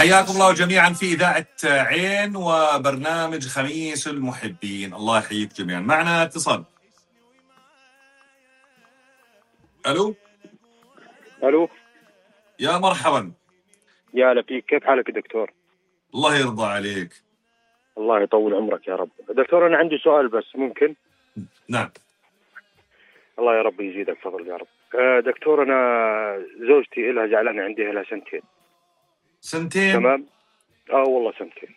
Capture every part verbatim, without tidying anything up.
حياكم الله جميعا في إذاعة عين وبرنامج خميس المحبين. الله يحييك جميعا. معنا اتصال. ألو ألو، يا مرحبا. يا هلا فيك، كيف حالك دكتور؟ الله يرضى عليك. الله يطول عمرك يا رب. دكتور أنا عندي سؤال بس ممكن؟ نعم. الله يا رب يزيدك فضل يا رب. آه دكتور أنا زوجتي إلها زعلانة عندي إلها سنتين. سنتين؟ تمام. آه والله سنتين.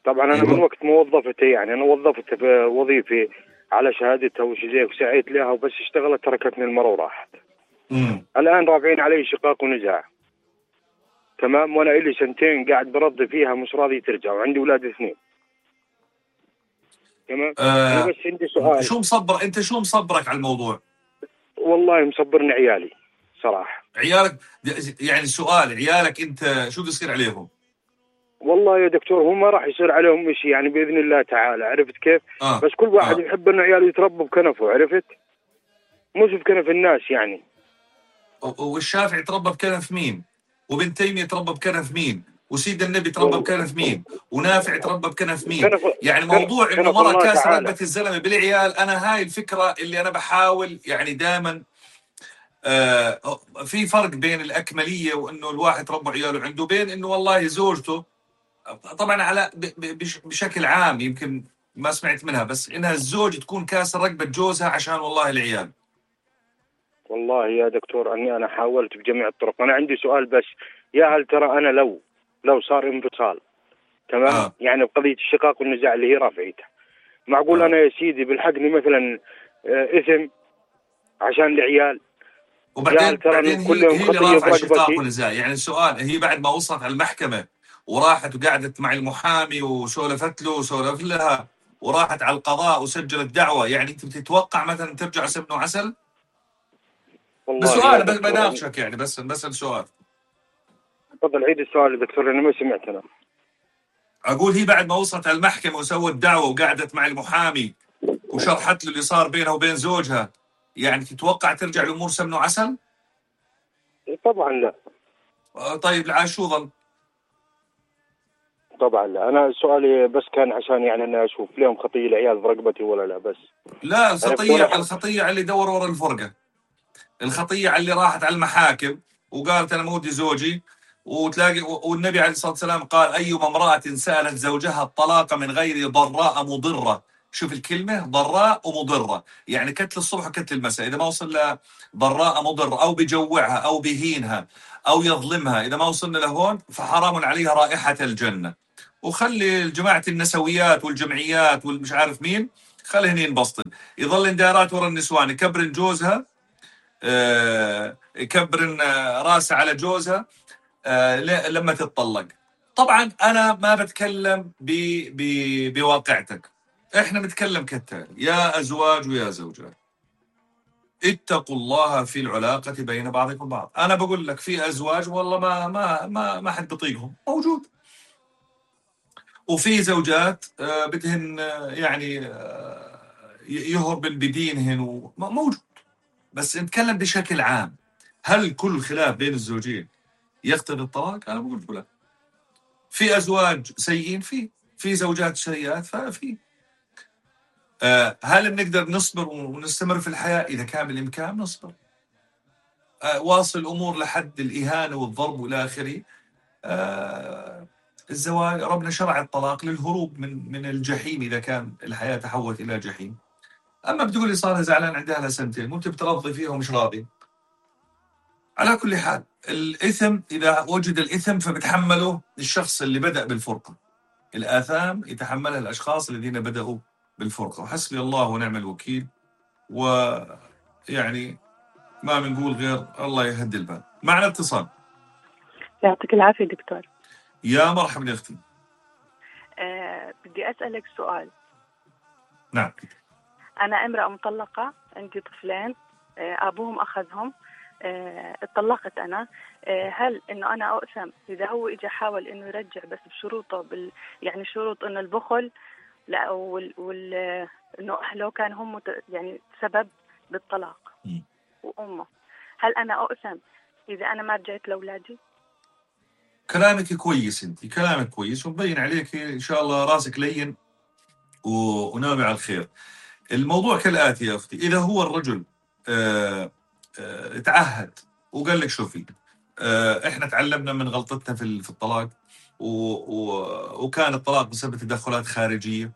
طبعا أنا أيوة. من وقت ما وظفتها يعني أنا وظفتها في وظيفة على شهادتها وشي زي وسعيت لها وبس اشتغلت تركتني المرة وراحت. مم. الآن رافعين علي شقاق ونزاع. تمام. وأنا إلي سنتين قاعد برضي فيها مش راضي ترجع وعندي أولاد اثنين. تمام. آه أنا بس عندي سؤال. شو مصبر أنت شو مصبرك على الموضوع؟ والله مصبرني عيالي صراحة. عيالك يعني سؤال، عيالك أنت شو بيصير عليهم؟ والله يا دكتور هو ما راح يصير عليهم شيء يعني بإذن الله تعالى. عرفت كيف؟ آه. بس كل واحد آه. يحب إنه عياله يتربوا بكنفه. عرفت؟ مش بكنف الناس يعني. والشافعي تربى بكنف مين؟ وابن تيمية تربى بكنف مين؟ وسيد النبي تربى بكنف مين؟ ونافع تربى بكنف مين؟ كنف يعني موضوع انه كنف مرة الله كاس تعالى. رقبة الزلمة بالعيال، انا هاي الفكرة اللي انا بحاول يعني دائما آه في فرق بين الاكملية وانه الواحد تربى عياله عنده، بين انه والله زوجته طبعا على بشكل عام يمكن ما سمعت منها، بس انها الزوج تكون كاس رقبة جوزها عشان والله العيال. والله يا دكتور اني انا حاولت بجميع الطرق. انا عندي سؤال بس، يا هل ترى انا لو لو صار انفصال تمام آه. يعني بقضيه الشقاق والنزاع اللي هي رافعتها، معقول آه. انا يا سيدي بالحقني مثلا اثم عشان العيال؟ وبعدين بعدين هي هي اللي خطيه رافعه شقاق برقبتي. ونزاع. يعني السؤال، هي بعد ما وصلت على المحكمه وراحت وقعدت مع المحامي وسولفت له وسولف لها وراحت على القضاء وسجلت دعوه، يعني انت بتتوقع مثلا ترجع سمن وعسل؟ والله يا بسؤال بس دكتور بناقشك يعني بس بسأل سؤال. تفضل عيد السؤال يا دكتور لاني ما سمعت انا. اقول هي بعد ما وصلت على المحكمه وسوت دعوه وقعدت مع المحامي وشرحت له اللي صار بينها وبين زوجها، يعني تتوقع ترجع الامور سمن وعسل؟ طبعا لا. طيب العاد شو ظل؟ طبعا لا. انا سؤالي بس كان عشان يعني انا اشوف لهم خطيه العيال برقبتي ولا لا بس. لا، الخطيه الخطيه على اللي دور ورا الفرقه، الخطيه على اللي راحت على المحاكم وقالت انا مودي زوجي، وتلاقي والنبي عليه الصلاه والسلام قال ايما امراه سالت زوجها الطلاق من غير ضراء مضره. شوف الكلمه ضراء ومضره، يعني كتل الصبح وكتل المساء. اذا ما وصل لها ضراء مضره او بجوعها او بهينها او يظلمها، اذا ما وصلنا لهون فحرام عليها رائحه الجنه. وخلي جماعه النسويات والجمعيات والمش عارف مين خليهن ينبسطن، يظل دارات ورا النسوان يكبرن جوزها، آه يكبرن راسه على جوزها آه لما تتطلق. طبعا انا ما بتكلم ب ب بواقعتك، احنا بنتكلم كالتالي: يا ازواج ويا زوجات اتقوا الله في العلاقة بين بعضكم بعض. انا بقول لك في ازواج والله ما ما ما ما حد بيطيقهم موجود، وفي زوجات آه بدهن آه يعني آه يهربن بدينهن موجود. بس نتكلم بشكل عام، هل كل خلاف بين الزوجين يقتضي الطلاق؟ انا بقول لا. في ازواج سيئين، في في زوجات سيئات، ففي آه هل بنقدر نصبر ونستمر في الحياه؟ اذا كان بالامكان نصبر، آه واصل الامور لحد الاهانه والضرب والى اخره. آه الزواج ربنا شرع الطلاق للهروب من من الجحيم اذا كان الحياه تحولت الى جحيم. اما بتقول لي صار زعلان عندها لها سنتين وانت بترضي فيها ومش راضي، على كل حال الإثم إذا وجد الإثم فبتحمله الشخص اللي بدأ بالفرقة، الآثام يتحملها الأشخاص الذين بدأوا بالفرقة، وحسبي الله ونعم الوكيل. ويعني ما بنقول غير الله يهدي البال. معنا اتصال. يعطيك العافية دكتور. يا مرحبا يا أختي. أه بدي أسألك سؤال. نعم. أنا امرأة مطلقة، عندي طفلين، أه أبوهم أخذهم، أه اتطلقت أنا. أه هل إنه أنا أقسم إذا هو إجا حاول إنه يرجع بس بشروطه بال يعني شروط إنه البخل لا وال, وال... إنه أهله كان هم مت... يعني سبب بالطلاق م. وأمه، هل أنا أقسم إذا أنا ما رجعت لأولادي؟ كلامك كويس، انت كلامك كويس ومبين عليك ان شاء الله راسك لين و- وناوي على الخير. الموضوع كالآتي يا أختي، إذا هو الرجل آه، آه، تعهد وقال لك شوفي آه، إحنا تعلمنا من غلطتنا في ال- في الطلاق و- و- وكان الطلاق بسبب تدخلات خارجية،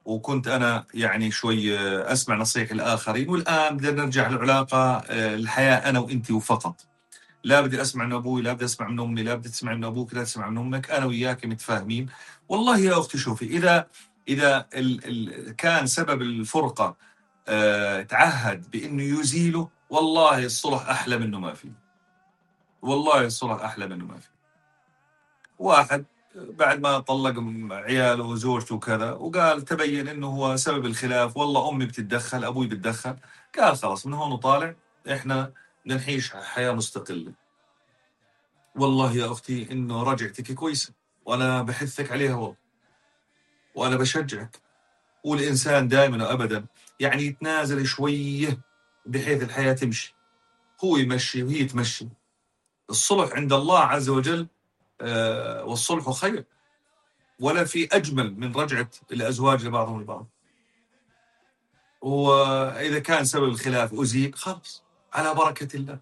وكنت أنا يعني شوي آه، أسمع نصيحة الآخرين، والآن بدنا نرجع العلاقة آه، الحياة أنا وإنتي وفقط. لا بدي أسمع من أبوي، لا بدي أسمع من أمي، لا بدي تسمع من أبوك، لا تسمع من أمك، أنا وياك متفاهمين. والله يا أختي شوفي، إذا إذا ال ال كان سبب الفرقة آه تعهد بإنه يزيله، والله الصلح أحلى منه ما في. والله الصلح أحلى منه ما في. واحد بعد ما طلق م- عياله وزوجته وكذا، وقال تبين إنه هو سبب الخلاف، والله أمي بتتدخل، أبوي بتدخل، قال خلاص من هون وطالع إحنا بدنا نعيش حياة مستقلة. والله يا أختي إنه رجعتك كويسة، وأنا بحثك عليها والله، وأنا بشجعك. والإنسان دائما وأبدا يعني يتنازل شوية بحيث الحياة تمشي، هو يمشي وهي تمشي. الصلح عند الله عز وجل آه والصلح خير، ولا في أجمل من رجعة الأزواج لبعضهم البعض. وإذا كان سبب الخلاف أزيل، خلاص على بركة الله،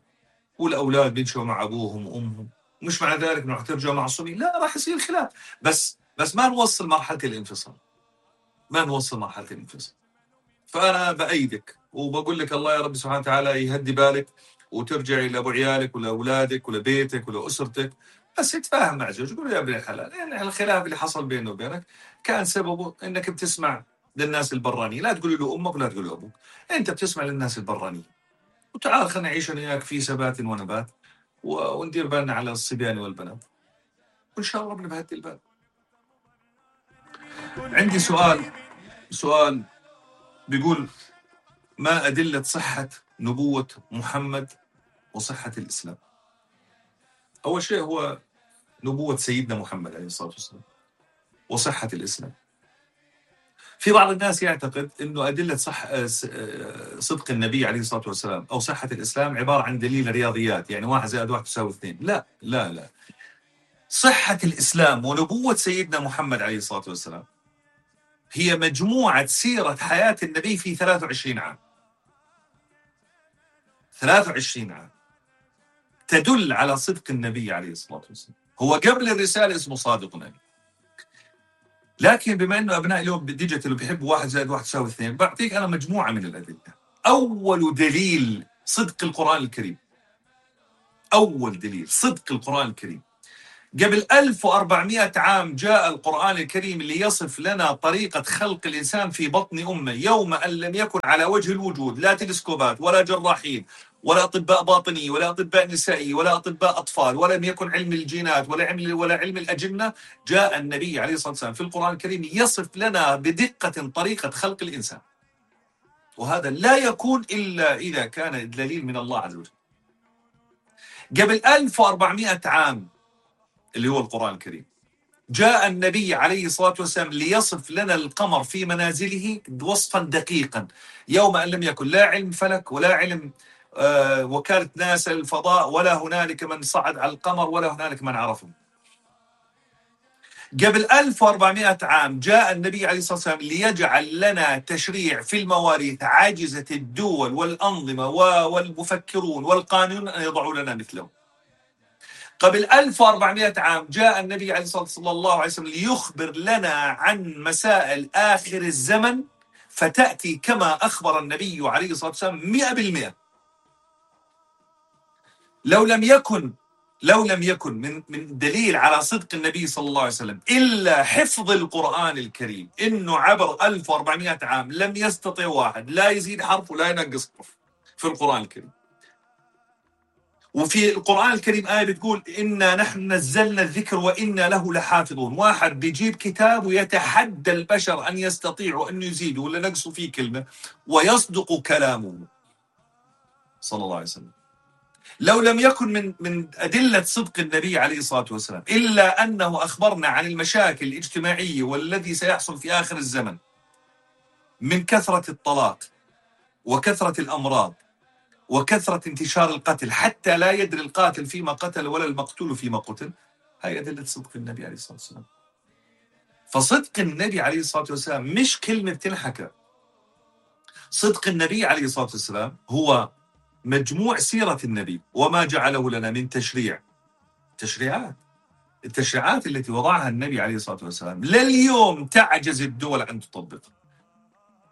والأولاد بيمشوا مع أبوهم وأمهم. مش معنى ذلك إنه رح ترجعوا معصومين، لا، راح يصير خلاف، بس بس ما نوصل مرحلة الانفصال، ما نوصل مرحلة الانفصال. فأنا بأيدك وبقول لك الله يا رب سبحانه وتعالى يهدي بالك، وترجعي لأبو عيالك ولأولادك ولبيتك ولأسرتك، بس تتفاهم مع زوجك. قول يا ابن الحلال، يعني الخلاف اللي حصل بينه وبينك كان سببه إنك بتسمع للناس البرانية. لا تقولي له أمك ولا تقولي له أبوك، أنت بتسمع للناس البرانية. وتعال خلينا نعيش أنا وياك في ثبات ونبات، و- وندير بالنا على الصبيان والبنات، وإن شاء الله ربنا بهدي البال. عندي سؤال سؤال بيقول: ما أدلة صحة نبوة محمد وصحة الإسلام؟ أول شيء هو نبوة سيدنا محمد عليه الصلاة والسلام وصحة الإسلام. في بعض الناس يعتقد أنه أدلة صح صدق النبي عليه الصلاة والسلام أو صحة الإسلام عبارة عن دليل رياضيات، يعني واحد زائد واحد تساوي اثنين. لا لا لا، صحة الإسلام ونبوة سيدنا محمد عليه الصلاة والسلام هي مجموعة سيرة حياة النبي في ثلاثة وعشرين عام. ثلاثة وعشرين عام تدل على صدق النبي عليه الصلاة والسلام. هو قبل الرسالة اسمه صادق نبي، لكن بما أنه أبناء اليوم بالديجيتال بيحبوا واحد زائد واحد تساوي اثنين، بعطيك أنا مجموعة من الأدلة. أول دليل صدق القرآن الكريم، أول دليل صدق القرآن الكريم، قبل ألف وأربعمائة عام جاء القرآن الكريم ليصف لنا طريقة خلق الإنسان في بطن أمه، يوم أن لم يكن على وجه الوجود لا تلسكوبات ولا جراحين ولا أطباء باطني ولا أطباء نسائي ولا أطباء أطفال، ولم يكن علم الجينات ولا علم ولا علم الأجنة. جاء النبي عليه الصلاة والسلام في القرآن الكريم يصف لنا بدقة طريقة خلق الإنسان، وهذا لا يكون إلا إذا كان دليل من الله عز وجل. قبل ألف وأربعمائة عام اللي هو القرآن الكريم، جاء النبي عليه الصلاة والسلام ليصف لنا القمر في منازله وصفا دقيقا، يوم أن لم يكن لا علم فلك ولا علم آه وكالة ناسا الفضاء، ولا هنالك من صعد على القمر ولا هنالك من عرفه. قبل ألف وأربعمائة عام جاء النبي عليه الصلاة والسلام ليجعل لنا تشريع في المواريث عاجزة الدول والأنظمة والمفكرون والقانون أن يضعوا لنا مثله. قبل ألف وأربعمائة عام جاء النبي عليه الصلاة صلى الله عليه وسلم ليخبر لنا عن مسائل آخر الزمن، فتأتي كما أخبر النبي عليه الصلاة والسلام مئة بالمئة. لو لم يكن لو لم يكن من من دليل على صدق النبي صلى الله عليه وسلم إلا حفظ القرآن الكريم، إنه عبر ألف وأربعمائة عام لم يستطع واحد لا يزيد حرف ولا ينقص حرف في القرآن الكريم. وفي القرآن الكريم آية بتقول: إنا نحن نزلنا الذكر وإنا له لحافظون. واحد بيجيب كتاب ويتحدى البشر أن يستطيعوا أن يزيدوا ولا نقصوا فيه كلمة، ويصدق كلامه صلى الله عليه وسلم. لو لم يكن من من أدلة صدق النبي عليه الصلاة والسلام إلا أنه أخبرنا عن المشاكل الاجتماعية والذي سيحصل في آخر الزمن من كثرة الطلاق وكثرة الأمراض وكثرة انتشار القتل، حتى لا يدري القاتل فيما قتل ولا المقتول فيما قتل، هاي أدلة صدق النبي عليه الصلاة والسلام. فصدق النبي عليه الصلاة والسلام مش كلمة تنحكى. صدق النبي عليه الصلاة والسلام هو مجموع سيرة النبي وما جعله لنا من تشريع. تشريعات التشريعات التي وضعها النبي عليه الصلاة والسلام لليوم تعجز الدول أن تطبقها.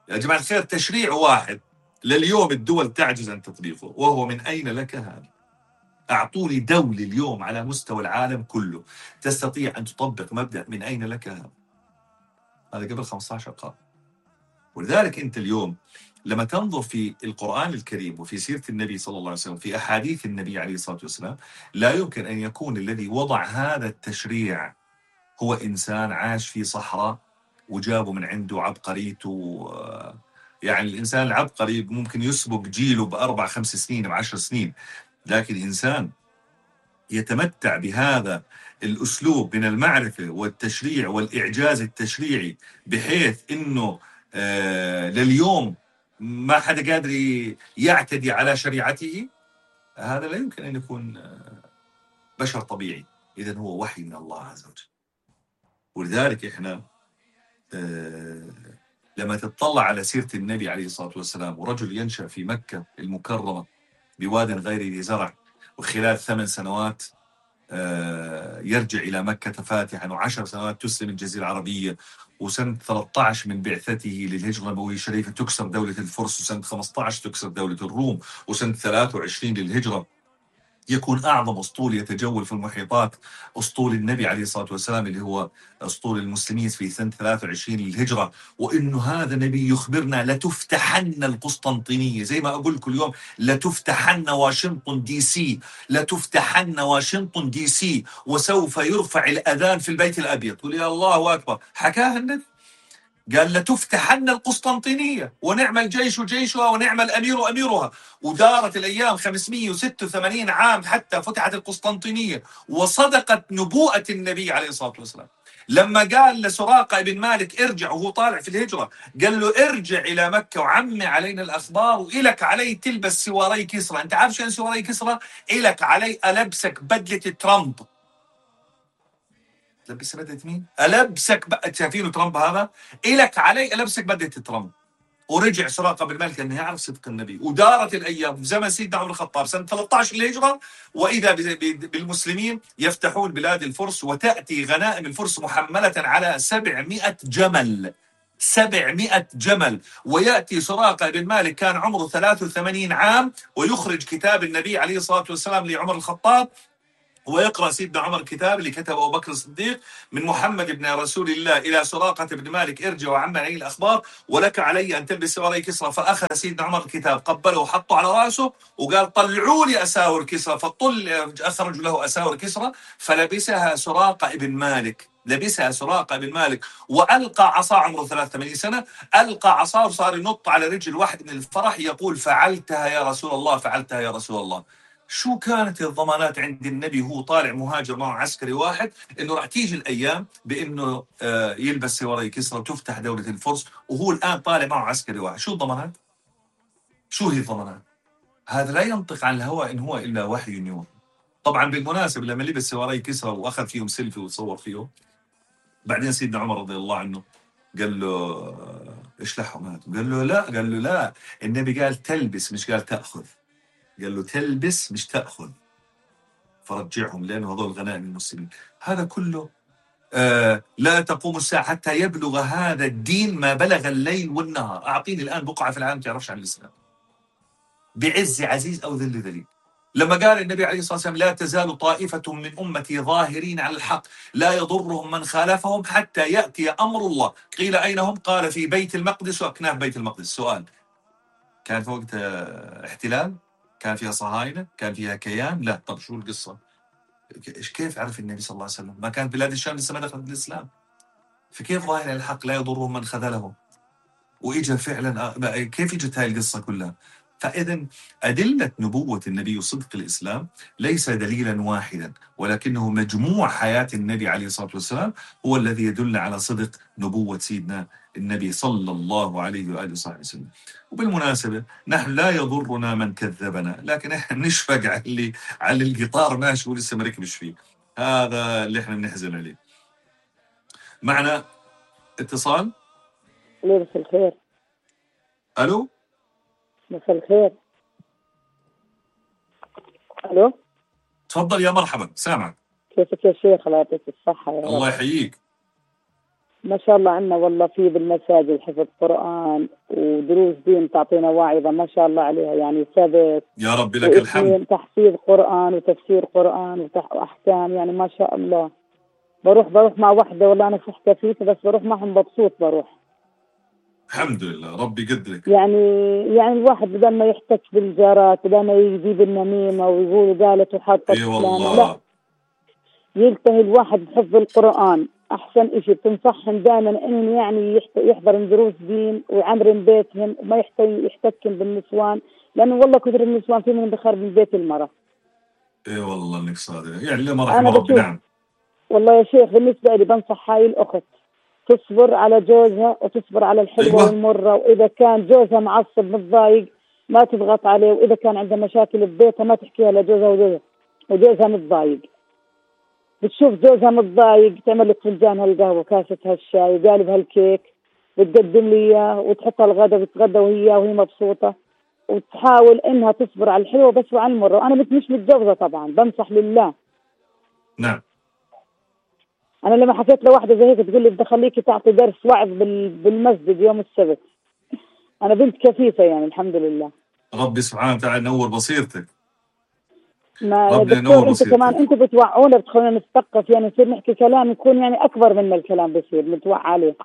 يا جماعة الخير، تشريع واحد لليوم الدول تعجز أن تطبيقه، وهو من أين لك هذا؟ أعطوني دولة اليوم على مستوى العالم كله تستطيع أن تطبق مبدأ من أين لك هذا. هذا قبل خمسة عشر قرن. ولذلك أنت اليوم لما تنظر في القرآن الكريم وفي سيرة النبي صلى الله عليه وسلم في أحاديث النبي عليه الصلاة والسلام، لا يمكن أن يكون الذي وضع هذا التشريع هو إنسان عاش في صحراء وجابه من عنده عبقريته. يعني الإنسان العبقري ممكن يسبق جيله بأربع خمس سنين بعشر سنين، لكن إنسان يتمتع بهذا الأسلوب من المعرفة والتشريع والإعجاز التشريعي بحيث إنه آه لليوم ما حدا قادر يعتدي على شريعته، هذا لا يمكن أن يكون آه بشر طبيعي. إذن هو وحي من الله عز وجل. ولذلك إحنا آه لما تطلع على سيرة النبي عليه الصلاة والسلام، ورجل ينشأ في مكة المكرمة بواد غير ذي زرع، وخلال ثمان سنوات يرجع إلى مكة فاتحا، وعشر سنوات تسلم الجزيرة العربية، وسنة ثلاثة عشر من بعثته للهجرة النبوية الشريفة تكسر دولة الفرس، وسنة خمسة عشر تكسر دولة الروم، وسنة ثلاثة وعشرين للهجرة يكون أعظم أسطول يتجول في المحيطات أسطول النبي عليه الصلاة والسلام اللي هو أسطول المسلمين في سنة ثلاثة وعشرين للهجرة. وإنه هذا نبي يخبرنا لتفتحن القسطنطينية، زي ما أقول كل يوم لتفتحن واشنطن دي سي، لتفتحن واشنطن دي سي، وسوف يرفع الأذان في البيت الأبيض. قل يا الله أكبر. حكاها النبي، قال لتفتحن القسطنطينية ونعم الجيش جيشها ونعم الأمير أميرها. ودارت الأيام خمسمئة وستة وثمانين عام حتى فتحت القسطنطينية، وصدقت نبوءة النبي عليه الصلاة والسلام لما قال لسراقة بن مالك ارجع وهو طالع في الهجرة، قال له ارجع إلى مكة وعمي علينا الأخبار، وإلك علي تلبس سواري كسرى. أنت عارف شو سواري كسرى؟ إلك علي ألبسك بدلة ترامب. لبس بدلة مين؟ ألبسك بقى، شايفينه ترامب هذا؟ إلك علي ألبسك بدلة ترامب. ورجع سراقة بن مالك أنه يعرف صدق النبي. ودارت الأيام في زمن سيدنا عمر الخطاب سنة ثلاثة عشر للهجرة، وإذا بالمسلمين يفتحون بلاد الفرس، وتأتي غنائم الفرس محملة على سبعمائة جمل. سبعمائة جمل. ويأتي سراقة بن مالك كان عمره ثلاثة وثمانين عام، ويخرج كتاب النبي عليه الصلاة والسلام لعمر الخطاب، ويقرأ سيدنا عمر الكتاب اللي كتبه أبو بكر الصديق من محمد بن رسول الله إلى سراقة بن مالك ارجع وعم علي الأخبار ولك علي أن تلبس سواري كسرى. فأخذ سيدنا عمر الكتاب، قبله وحطه على رأسه وقال طلعوا لي أساور كسرى، فطل أخرج له أساور كسرى فلبسها سراقة بن مالك. لبسها سراقة بن مالك وألقى عصا، عمره ثلاثة وثمانين سنة، ألقى عصا وصار ينط على رجل واحد من الفرح يقول فعلتها يا رسول الله، فعلتها يا رسول الله. شو كانت الضمانات عند النبي وهو طالع مهاجر مع عسكري واحد انه راح تيجي الايام بانه آه يلبس سواري كسرى وتفتح دوله الفرس، وهو الان طالع معه عسكري واحد؟ شو الضمانات؟ شو هي الضمانات؟ هذا لا ينطق عن الهوى ان هو الا وحي يوحى. طبعا بالمناسبه لما لبس سواري كسرى واخذ فيهم سيلفي وتصور فيهم، بعدين سيدنا عمر رضي الله عنه قال له اشلحهم هذا، قال له لا، قال له لا، النبي قال تلبس مش قال تاخذ، قال له تلبس مش تأخذ، فرجعهم لأنه هذول غنائم المسلمين. هذا كله آه لا تقوم الساعة حتى يبلغ هذا الدين ما بلغ الليل والنهار. أعطيني الآن بقعة في العالم تعرفش عن الإسلام بعز عزيز أو ذل ذليل. لما قال النبي عليه الصلاة والسلام لا تزال طائفة من أمتي ظاهرين على الحق لا يضرهم من خالفهم حتى يأتي أمر الله. قيل أين هم؟ قال في بيت المقدس وأكناف بيت المقدس. سؤال، كان في وقت آه احتلال؟ كان فيها صهاينة؟ كان فيها كيان؟ لا. طب شو القصة؟ كيف عرف النبي صلى الله عليه وسلم؟ ما كانت بلاد الشام لسه ما دخلت الإسلام، فكيف ظاهر الحق لا يضرهم من خذلهم؟ وإجا فعلا كيف إجت هاي القصة كلها؟ فإذن أدلة نبوة النبي وصدق الإسلام ليس دليلا واحدا، ولكنه مجموع حياة النبي عليه الصلاة والسلام هو الذي يدل على صدق نبوة سيدنا النبي صلى الله عليه وآله وصحبه وسلم. وبالمناسبة نحن لا يضرنا من كذبنا، لكن احنا نشفق على اللي على القطار ماشي ولسه مركبش فيه. هذا اللي احنا بنحزن عليه. معنا اتصال. ليه مساء الخير. الو مساء الخير. الو تفضل يا مرحبا، سامعك. كيفك يا شيخ؟ الله يعطيك الصحة يا رب. الله يحييك. ما شاء الله عندنا والله في بالمساجد حفظ قرآن ودروس دين، تعطينا واعظة ما شاء الله عليها، يعني ثبت يا رب لك الحمد. تحفيظ قرآن وتفسير قرآن وتح... وأحكام، يعني ما شاء الله. بروح بروح مع وحدة والله أنا صح كفيفة، بس بروح معهم مبسوط بروح. الحمد لله، ربي يقدرك. يعني يعني الواحد بدل ما يحتك بالجارات، بدل ما يجيب النميمة ويقول قالت وحاطة اي والله لا، يلتهي الواحد بحفظ القرآن. أحسن إشي بتنصحهم دائما إنهم يعني يحضروا دروس دين ويعمرن بيتهم وما يحتكن بالنسوان، لأنه والله كثر النسوان في منهم بخرب من بيت المرأة. اي والله انك صادق، يعني لما رحمه ربي. نعم والله يا شيخ بالنسبة لي بنصح هاي الأخت تصبر على جوزها وتصبر على الحلوة أيوة. والمرة، وإذا كان جوزها معصب متضايق ما تضغط عليه، وإذا كان عندها مشاكل ببيتها ما تحكيها لجوزها وجوزها وجوزها متضايق. بتشوف جوزها متضايق تعمل لك فنجان هالقهوة كاسة هالشاي وقالب هالكيك بتقدم لي إياه وتحطها الغدا بتغدى وهي وهي مبسوطة، وتحاول إنها تصبر على الحلوة بس وعلى المرة. وأنا مش متجوزة طبعا، بنصح لله. نعم. أنا لما حكيت لواحدة زي هيك تقول لي بدي أخليكي تعطي درس وعظ بالمسجد يوم السبت. أنا بنت كفيفة يعني الحمد لله. ربي سبحانه وتعالى ينور بصيرتك. ما يا دكتور أنت كمان أنت بتوعونا بتخلونا نتثقف، يعني نصير نحكي كلام يكون يعني أكبر من الكلام بصير نتوعى عليه.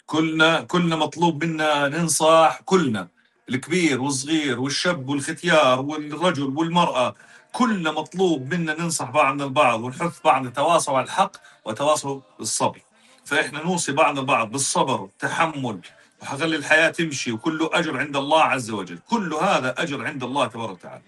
كلنا كلنا مطلوب منا ننصح، كلنا الكبير والصغير والشاب والختيار والرجل والمرأة، كلنا مطلوب منا ننصح بعضنا البعض ونحث بعضنا تواصوا على الحق وتواصوا بالصبر. فإحنا نوصي بعضنا البعض بالصبر والتحمل، وحخلي الحياة تمشي، وكله أجر عند الله عز وجل، كل هذا أجر عند الله تبارك وتعالى.